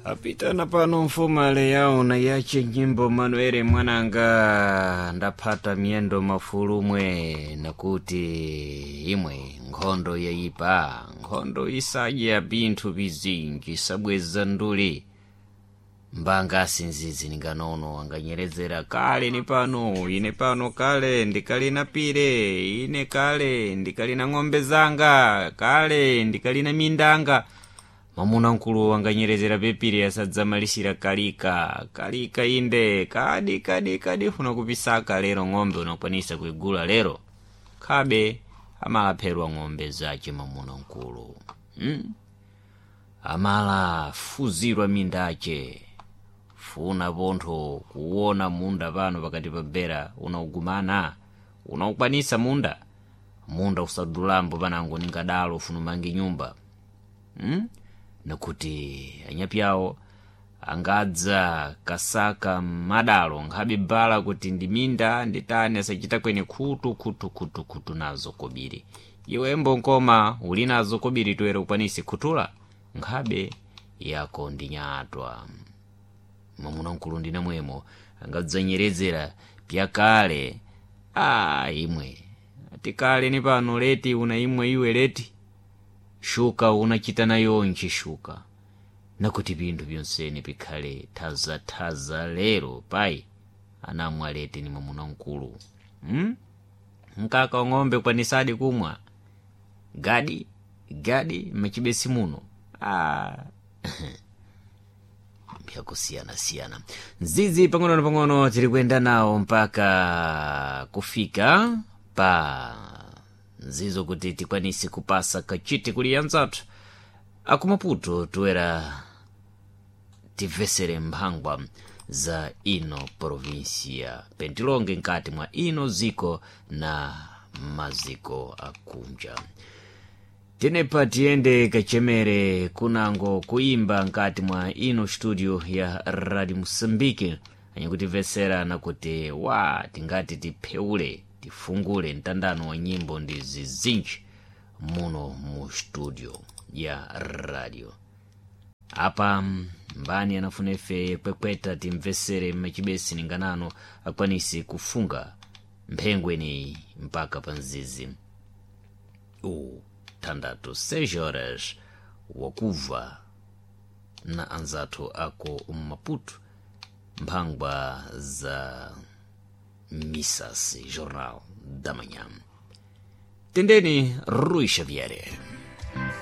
Apitana pano mfumale yawo na yache nyimbo Manuele mwananga ndaphata miyendo mafulumwe nakuti imwe nkhondo yayipa, nkhondo isadya pinthu pizinji sabweza nduli mbanga asinzizi ninganono anganyerezera kale ni pano ine pano kale ndikalina pire ine kale ndikalina ng'ombe zanga kale ndikalina mindanga. Mwamuna mkulu wanganyerezera pepiri asadzamalisira kalika kalika inde kadi kadi kadi funa kupisaka lero ng'ombe unakwanisa kuigula lero khabe amalapherwa ng'ombe zace mwamuna mkulu, Amala fuzirwa mindace funa pontho kuwona munda pano pakati pa bera unaugumana unaukwanisa munda munda usadulambo panango ningadalo ufuna umange nyumba, Nakuti anyapyawo angadza kasaka madalo nkhabe bala kuti ndi minda nditani asachita kwene khutu khutu khutu khutu nazo kobiri iwembo nkoma uli nazo kobiri toera ukwanise khuthula nkhabe yako ndi nyatwa. Mwamuna mkulu ndi namwemo angadzanyerezera pyakale a imwe atikale ni pano leti una imwe iwe leti shuka unachita nayonchi shuka nakuti pinthu pyonsene pikhale thazathaza lero payi anamwa leti ni mwamuna mkulu, Mkaka wa ng'ombe kwanisadi kumwa gadi gadi machibesi muno byakusiyanasiyana nzizi pang'ono na pang'ono tiri kuyenda nawo mpaka kufika pa nzizo kuti tikwanise kupasa kachiti kuli anzathu akumaputo toera timvesere mphangwa za ino provinsia pentilonge nkati mwa ino ziko na maziko akunja. Tenepa tiyende kachemere kunango kuimba nkati mwa ino studio ya Radio Mosambike anyakutimvesera nakuti wa tingati tipheule tifungule mtandano wa nyimbo ndi zizinji muno mu studio ya radio. Apa mbani anafuna ife kwekweta timvesere machibesi ninganano akwanise kufunga mphengweneyi mpaka pa mzizi uthandatu 6 horas wakuva na anzathu ako mmaputo mphangwa za Missas Jornal da Manhã. Tendeni Rui Xavier.